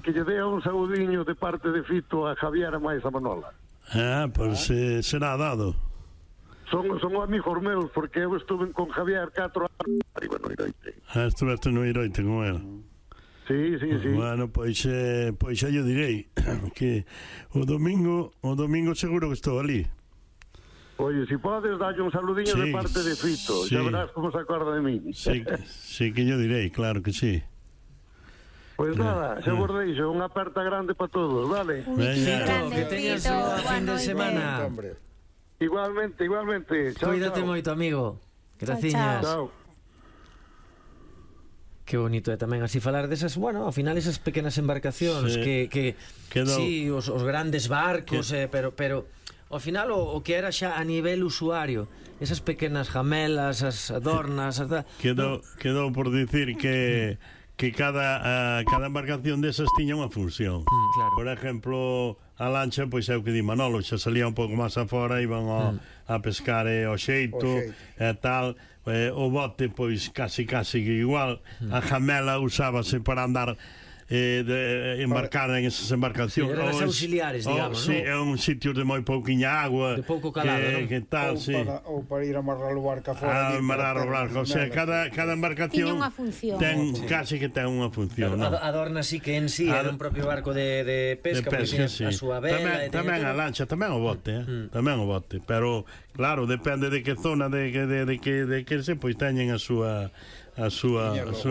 que lle dea un saudiño de parte de Fito a Javier e máis a Manola. Pois será dado. Son amigos meus, porque eu estuve con Javier 4 anos arriba no Iroite. Estuveste no Iroite con ele. Sí. Bueno, pois xa yo direi que o domingo seguro que estou ali. Oye, si podes, dalle un saludiño de parte de Fito, xa verás como se acorda de mí. Sí que yo direi, claro que sí. Pois nada, xa vos deixo unha aperta grande para todos, vale? Fito, que teñas unha fin de semana. Igualmente. Chao, Cuídate moito, amigo. Graciñas. Chao. Que bonito é tamén así falar desas, bueno, ao final esas pequenas embarcacións que sí, os grandes barcos, pero ao final o que era xa a nivel usuario, esas pequenas jamelas, as adornas, quedou por dicir que cada embarcación desas tiña unha función. Claro. Por exemplo, a lancha, pois é o que di Manolo, xa salía un pouco máis afora, iban a pescar ao xeito e tal. O bote, pois casi que igual. A jamela usábase para andar embarcar en esas embarcacións. Eran as auxiliares, digamos, sí, é un sitio de moi pouquiña agua, de pouco calado, que tal, ou para ir a amarrar o barco fora. Amarrar o barco, o sea, cada embarcación tiña unha función. Casi que ten unha función. Adorna sí que en sí era un propio barco de pesca, porque a súa vela. Tamén a lancha, tamén o bote, tamén o bote, pero claro, depende de que zona de que se pois teñen a súa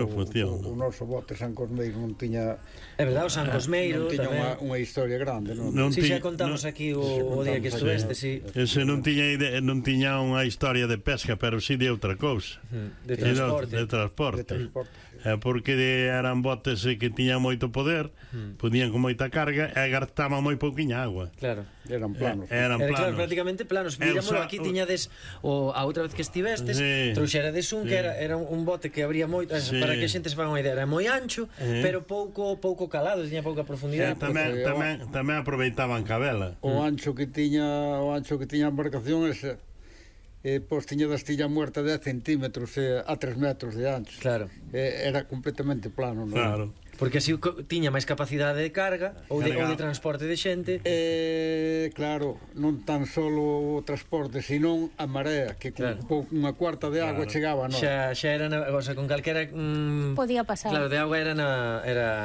función. O noso bote San Cosmeiro non tiña... É verdade, o San Cosmeiro non tiña unha historia grande, non? Si, xa contamos aquí o día que estuveste, si. Ese non tiña unha historia de pesca, pero si de outra cousa. De transporte. Porque eran botes que tiñan moito poder, podían con moita carga e gastaban moi pouquiña agua. Claro. Eran planos. Claro, prácticamente planos. Mirámoslo, aquí tiñades a outra vez que estivestes, trouxerades un que era un bote que abría moito, para que a xente se faga unha idea, era moi ancho, pero pouco calado, tiña pouca profundidade. Tamén aproveitaban cabela. O ancho que tiña a embarcación pois tiña da astilla muerta 10 centímetros a 3 metros de ancho. Claro. Era completamente plano, non? Claro. Porque así tiña máis capacidade de carga ou de transporte de xente. Claro, non tan solo o transporte, senón a marea, que con unha cuarta de agua chegaba, non? Xa era, o sea, con calquera podía pasar. Claro, de agua era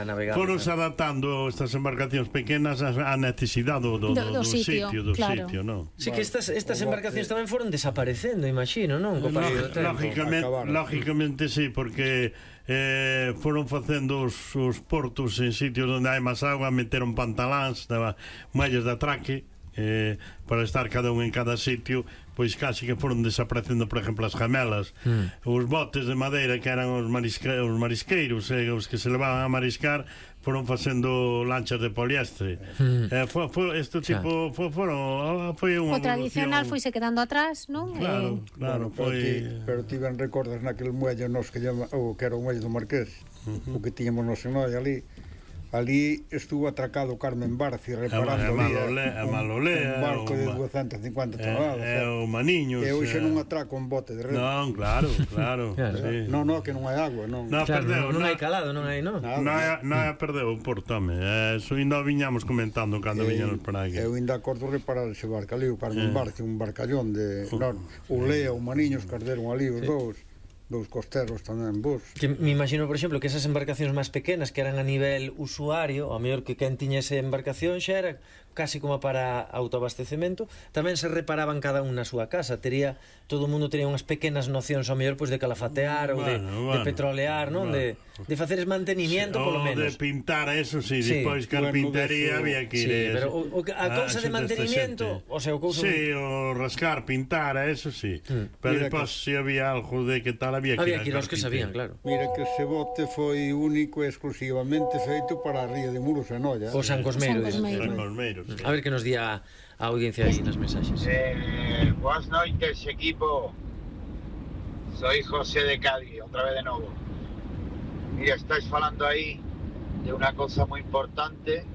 navegable. Foron adaptando estas embarcacións pequenas á necesidade do sitio, non? Si que estas embarcacións tamén foron desaparecendo, imagino, non? Lógicamente sí, porque foron facendo os portos en sitios onde hai máis agua, meteron pantaláns, muelles de atraque para estar cada un en cada sitio, pois casi que foron desaparecendo, por exemplo, as jamelas, os botes de madeira que eran os marisqueiros, os que se levaban a mariscar, foron facendo lanchas de poliestre. Este tipo foi unha o tradicional foise quedando atrás, non? Claro, pero ti ben recordas naquele muelle nos que era o muelle do Marqués, o que tiñamos nos en Noia ali estuvo atracado Carmen Barci reparando un barco de 250 toneladas, o Maniño, e hoxe non atraca un bote de rede. Non, claro sí. Non, que non hai agua, non hai calado, non hai, non perdeu o portame, eso ainda viñamos comentando cando viñamos para aquí. Eu ainda acordo reparar ese barco ali, o Carmen Barci, un barcallón o Lea, o Maniños carderon ali os dous costeros tamén vos. Que me imagino, por exemplo, que esas embarcacións máis pequenas que eran a nivel usuario, ao mellor que quen tiña esa embarcación xa era casi como para autoabastecemento, tamén se reparaban cada un na súa casa, todo o mundo tería unhas pequenas nocións ao mellor de calafatear ou de petrolear, non? De facer mantenimiento, polo menos. De pintar, eso sí, despois carpintería había que ir. Sí, pero a cousa de mantenimiento, o sea, o cousa... Sí, o rascar, pintar, eso sí. Pero despois se había algo de que tal había que ir aos que sabían, claro. Mira que ese bote foi único e exclusivamente feito para a ría de Muros e Noia. O San Cosmeiro. A ver que nos di a audiencia aí nas mensaxes. Boas noites, equipo. Soy José de Cádiz, otra vez de novo. Mira, estáis falando aí de una cosa muy importante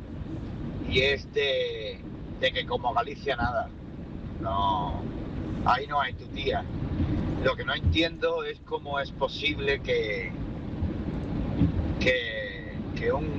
y es de que como Galicia nada. No, ahí no hay tu tía. Lo que no entiendo es cómo es posible que un